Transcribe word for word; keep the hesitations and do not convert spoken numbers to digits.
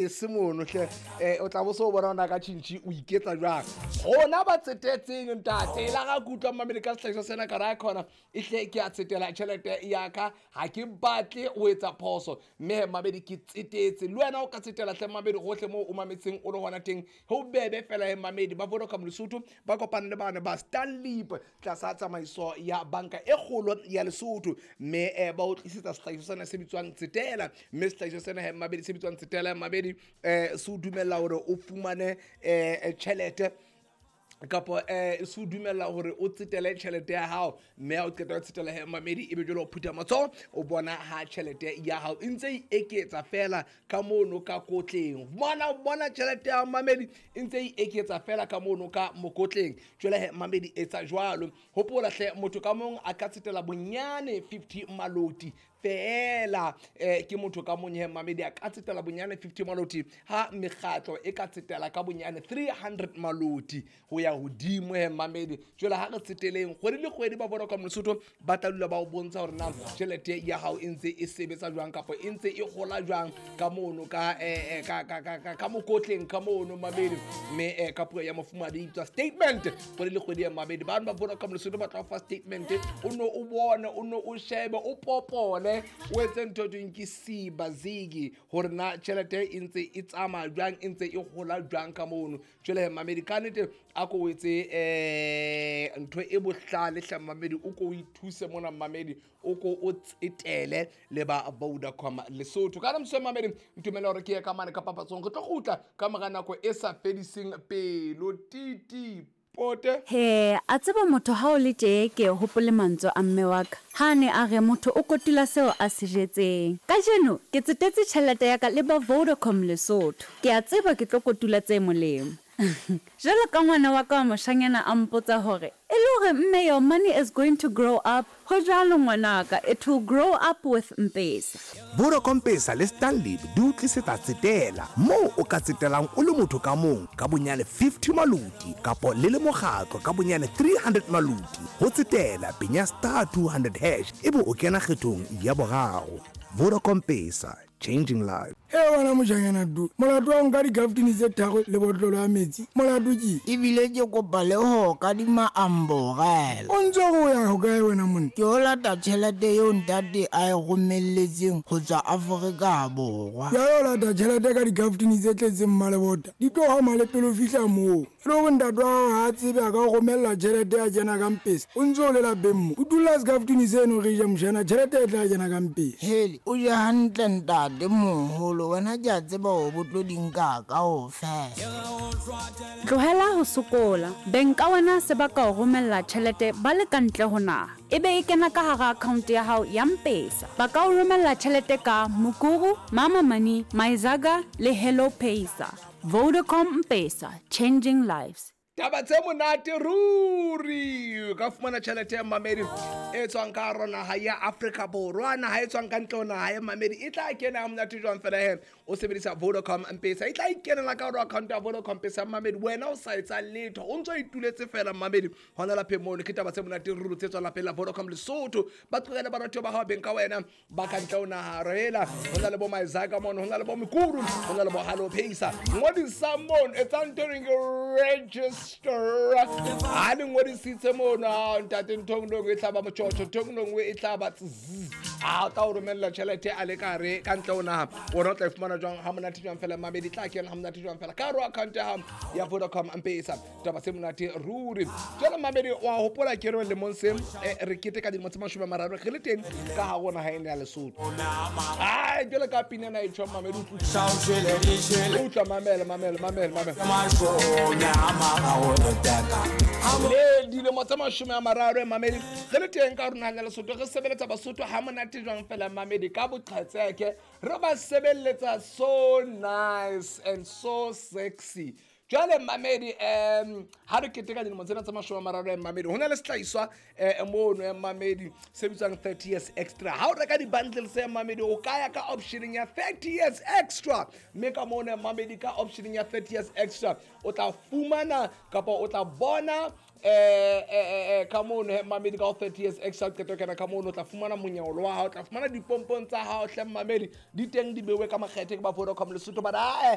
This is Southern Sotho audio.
Se mono hle, um o tla bo se o bona ona ka tšhintšhi o iketsa jwang. Gona ba tsetetseng ntate la ga ke utlwa mmamedi ka sehlahiswa sena ka raya kgona e hle ke a tsetela tšhelete ya ka, ga ke batle o etsa phoso, mme mmamedi ke tsetetse. Le wena o ka tsetela hle mmamedi gohle moo o mametseng o le gona teng, go bebe fela he mmamedi. Ba Vodacom Lesotho ba kopane le bane ba Stanlib tlasa tsamaiso ya banka e kgolo ya Lesotho, mme um ba o tlisetsa sehlahiswa sena se bitswang Tsetela. Mme sehlahiswa sena he mmamedi se bitswang Tsetela mmamedi, um se o dumella hore o fumane um tjhelete kapa um se o dumella hore o tsetele tjhelete ya hao, mme ha o qeta ho tsetela he mamedi, ebe jwale o phutha matsoho o bona ha tjhelete ya hao e ntse e eketsa fela ka mono ka kotleng. Bona bona tjhelete ya mamedi e ntse e eketsa fela ka mono ka mokotleng. Jwale he mamedi etsa jwalo, hopola hle motho ka mong a ka tsetela bonyane fifty maloti fela, eh ke motho ka mong he mamedi a ka tsetela bonyane fifty maloti, ha mekgatlo e ka tsetela ka bonyane three hundred maloti ho ya hodimo he mamedi. Jwale ha re tseteleng kgwedi le kgwedi, ba Vodacom Lesotho ba tla dula ba o bontsha hore na tjhelete ya hao e ntse e sebetsa jwang kapa e ntse e hola jwang ka mono ka eh ka ka ka ka mokotleng ka mono mamedi. Mme eh ka puo ya mofumadi e bitswa statement kgwedi le kgwedi ya mamedi. Ba ba Vodacom Lesotho ba tla o fa statement, o no o bone, o no o shebe, o popole, o etse ntho e thweng ke siba zigi hore na tjhelete e ntse e tsamaya jwang, e ntse e hola jwang ka mono. Jwale he mamedi ka nnete a ko o etse eh ntho e bohlale hle mamedi, o ko o ithuse mona mamedi, o ko o tsetele le ba Vodacom Lesotho. Ka moswe mamedi, ntumela hore ke ye ka mane ka papatsong, re tlo kgutla ka mora nako e sa fediseng pelo. Titi pote he a tseba motho ha o le tje ke hopole mantswe a mme wa ka ha ne a re motho o kotula seo a se jetseng. Kajeno ke tsetetse tjhelete ya ka le ba Vodacom Lesotho, ke a tseba ke tlo kotula tse molemo. Jwalo ka ngwana wa ka wa moshanyana a mpotsa hore e le hore mme your money is going to grow up, ho jwalo ngwanaka, it will grow up with M-Pesa. Vodacom Pesa le Stanlib di o tlisetsa Tsetela, moo o ka tsetelang o le motho ka mong ka bonyane fifty maloti kapo le le mokgatlo ka bonyane three hundred maloti. Ho tsetela penya star two hundred hash ebe o kena kgethong ya boraro. Vodacom Pesa, changing lives. He wena mojanyana du, molato wa nka dikaftini tse tharo le botlolo ya metsi, molato ke? Ebile ke kopa le ho kadima amborela. O ntse o ya hokae wena monna? Ke o lata tjhelete eo ntate a e romelletseng ho tswa Afrika Borwa. Jwale o lata tjhelete ka dikaftini tse tletseng mmalebota, di tlo hama le pele o fihla moo. E le hore ntate wa hao ha a tsebe a ka o romella tjhelete ya kena ka Mpesa, o ntse o le lapeng mo. O dula sekaftini seno re ja mojana, tjhelete e tla kena ka Mpesa. Hele, o je hantle ntate moholo, wena ke a tseba hore bo tlo di nka kaofela. Tlohela ho sokola, beng ka wena se ba ka o romella tjhelete ba le ka ntle ho naha, ebe e kena ka hara account ya hao ya M-Pesa. Ba ka o romella tjhelete ka Mukuru, Mama Money, Myzaga le Hello Pesa. Vodacom M-Pesa, changing lives. Taba tse monate ruri, o ka fumana tjhelete ya mamedi e tswang ka hara naha ya Afrika Borwa, naha e tswang ka ntle ho naha ya mamedi e tla kena ha monate jwang fela he o sebedisa Vodacom M-Pesa, e tla ikenela ka hara account ya Vodacom M-Pesa mamedi, wena o sa etsa letho, o ntso ituletse fela mamedi hona lapeng mono. Ke taba tse monate ruri tse tswang lapeng la Vodacom Lesotho. Ba tlohele baratuwa ba hao beng ka wena ba ka ntle ho naha, rela ho na le bo Myzaga mono, ho na le bo Mukuru, ho na le bo Hello Pesa. Ngodisa mono, etsa ntho e reng register. Ha le ngodisitse mono, ha ntate ntho e nngwe e tla ba motjotjo, ntho e nngwe e tla ba zzz. A o tla o romella tjhelete a le ka hare ka ntle ho naha, wena o tla e fumana jwang ha monate jwang fela mamedi, tla kena ha monate jwang fela ka hare ho account ya hao ya Vodacom M-Pesa. Taba tse monate ruri. Jwale mamedi wa hopola ke re lemong se re keteka dilemo tse mashome a mararo re le teng ka hare ho naha ena ya Lesotho. Ai jwale ka pina ena e tjho mamedi, utlwa utlwa mamela mamela mamela mamela. Le dilemo tse mashome a mararo mamedi re le teng ka hare ho naha ya Lesotho, re sebeletsa Basotho ha monate jwang fela mamedi ka boqhetseke, re ba sebeletsa so nice and so sexy. Jwale mmamedi, um ha re keteka dilemo tsena tse mashome a mararo, mmamedi, ho na le sehlahiswa um mono, mmamedi, se bitswang thirty years extra. Ha o reka di-bundles, mmamedi, o ka ya ka optioneng ya thirty years extra, mme ka mono, mmamedi, ka optioneng ya thirty years extra o tla fumana kapa o tla bona eh eh eh ka mono, he mmamedi, ka ho thirty years extra o qeta ho kena ka mono, o tla fumana monyolo wa hao, o tla fumana dipompong tsa hao hle, mmamedi, di teng, di beuwe ka makgethe ke ba Vodacom Lesotho. But ae.